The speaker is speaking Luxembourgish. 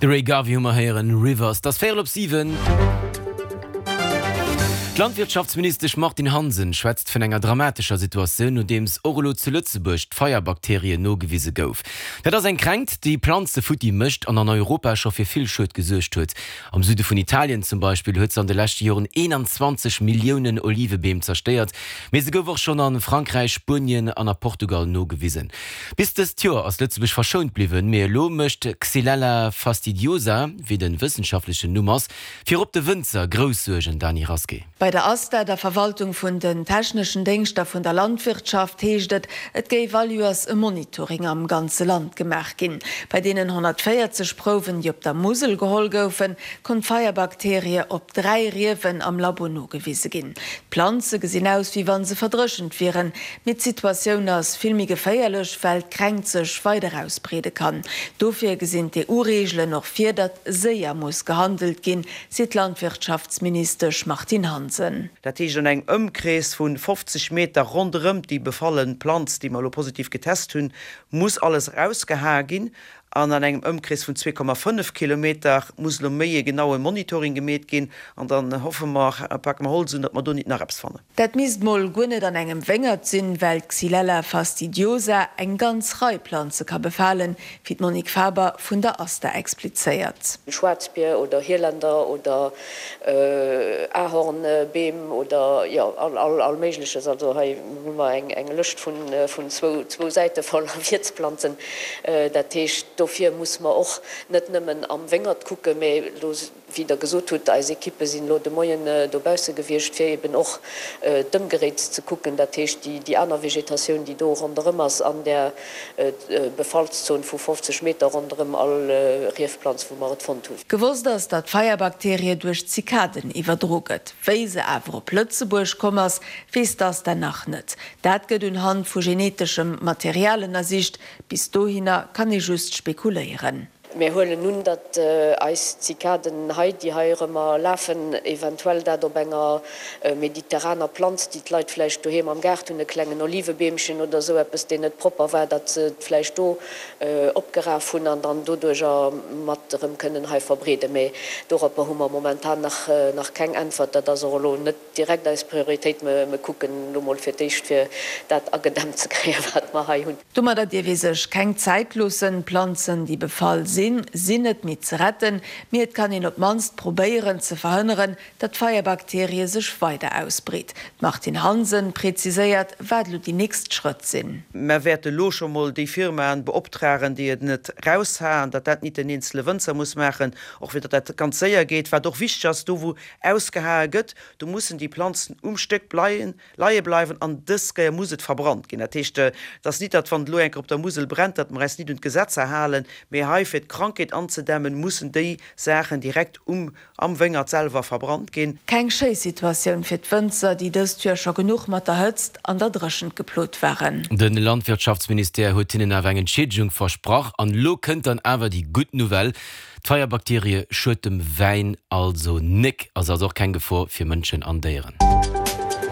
De Ray Garvey hu mer héieren, Rivers. Et ass véierel op 7. D'Landwirtschaftsministesch Martine Hansen schwätzt vun enger dramatescher Situatioun, nodeems och elo zu Lëtzebuerg d'Feierbakterie nogewise gouf. Dat ass eng Kränkt, déi Planze futti mécht an an Europa scho fir vill Schued gesuergt huet. Am Süde vun Italien zum Beispill huet se an de leschte Joren 21 Milliounen Olivebeem zerstéiert, mee se gouf och schonn a Frankräich, Spuenien an a Portugal nogewisen. Bis dëst Joer ass Lëtzebuerg verschount bliwwen, mee elo mécht Xylella fastidiosa, wéi de wëssenschaftlechen Numm ass, virop de Wënzer grouss Suergen, Dany Rasqué. Bei der ASTA, der Verwaltung vun den techneschen Déngschter vun der Landwirtschaft, heescht et, et géif all Joers e Monitoring am ganze Land gemaach ginn. Bei deenen 140 Prouwen, déi op der Musel geholl goufen, konnt d'Feierbakterie op 3 Riewen am Labo nogewise ginn. D'Planze gesinn aus, wéi wa se verdréchent wieren, mee d'Situatioun ass vill méi geféierlech, well d'Kränkt sech weider ausbreede kann. Dofir gesinn d'EU-Reegelen och vir, datt séier muss gehandelt ginn, seet d'Landwirtschaftsministesch Martine Hansen. Dat heescht an engem Ëmkrees vu 50 Meter ronderëm déi befalle Planz, déi mer elo positiv getest hunn, muss alles erausgehae ginn. An an engem Ëmkrees vun 2,5 Kilometer muss elo méi e genaue Monitoring gemeet ginn. An dann hoffe mer, pake mer Holz un, datt mer do nit nach eppes fannen. Dat misst mol guer net an engem Wéngert sinn, well d'Xylella fastidiosa eng ganz Rei Planze ka befalen, wéi d'Monique Faber vun der ASTA explizéiert. Schwaarzbier oder Hieländer oder Ahornbeem oder jo all Méigleches. Also hei hu mer eng Lëscht vun zwou Säite voller Wiertsplanzen. Dat heescht, dofir musse mer och net nëmmen am Wéngert kucken, mä elo, wéi Der gesot hutt, eis Ekippe sinn elo de Moien dobausse gewiescht, fir eben och d'Ëmgeréits ze kucken, dat heescht déi aner Vegetatioun, déi do ronderëm ass an där Befallszon vu 50 Meter ronderëm all Riefplanz, wou mer et fonnt hunn. Gewosst ass, datt d'Feierbakterie duerch Zikaden iwwerdro gëtt. Wéi se awer op Lëtzebuerg komm ass, weess d'ASTA nach net. Dat gëtt un Hand vu geneteschem Material ënnersicht. Bis dohinner kann ee just spekuléieren. Mir huelen un, datt eis Zikaden hei, déi hei erëmmer lafen, eventuell dat op enger mediterraner Planz, déi d'Leit vläicht doheem am Gaart hunn, e klengen Olivebeemchen oder esou eppes, deen net propper war, datt se et vläicht do opgeraf hunn an dann doduercher mat erëm kënnen hei verbreeden. Mee doropper hu mer momentan nach keng Äntwert. Dat ass och elo net direkt eis Prioritéit. Mir kucken elo mol fir d'éischt, fir dat agedämmt ze kréien, wat mer hei hunn. Domadder dierf ee sech keng Zäit loossen. D'Planzen, déi befall sinn, sinn net méi ze retten, mee et kann een op d'mannst probéieren ze verhënneren, datt d'Feierbakterie sech weider ausbreet. D'Martine Hansen preziséiert, wat elo déi nächst Schrëtt sinn. Mer wäerte lo scho mol déi Firmaen beoptragen, déi et net raushaen, datt dat nit den eenzele Wënzer muss maachen, och fir datt dat ganz séier geet. Wat och wichteg ass, do wou ausgehae gëtt, do mussen déi Planzen um Stéck bleien, leie bleiwen an dës Kéier muss et verbrannt ginn. Dat heescht, et ass nit, datt wann et elo eng Kéier op der Musel brennt, datt mer eis nit un d'Gesetzer halen, mee hei fir d'Krankheet anzedämmen, mussen déi Saachen direkt um am Wéngert selwer verbrannt ginn. Keng schéi Situatioun fir d'Wënzer, déi dëst Joer scho genuch mat der Hëtzt an der Dréchent geplot waren. De Landwirtschaftsministère huet hinnen awer eng Entschiedegung versprach. An elo kënnt dann awer déi gutt Nouvelle, D'Feierbakterie schued dem Wäin also nek, ass also och keng Gefor fir Mënschen an Déieren.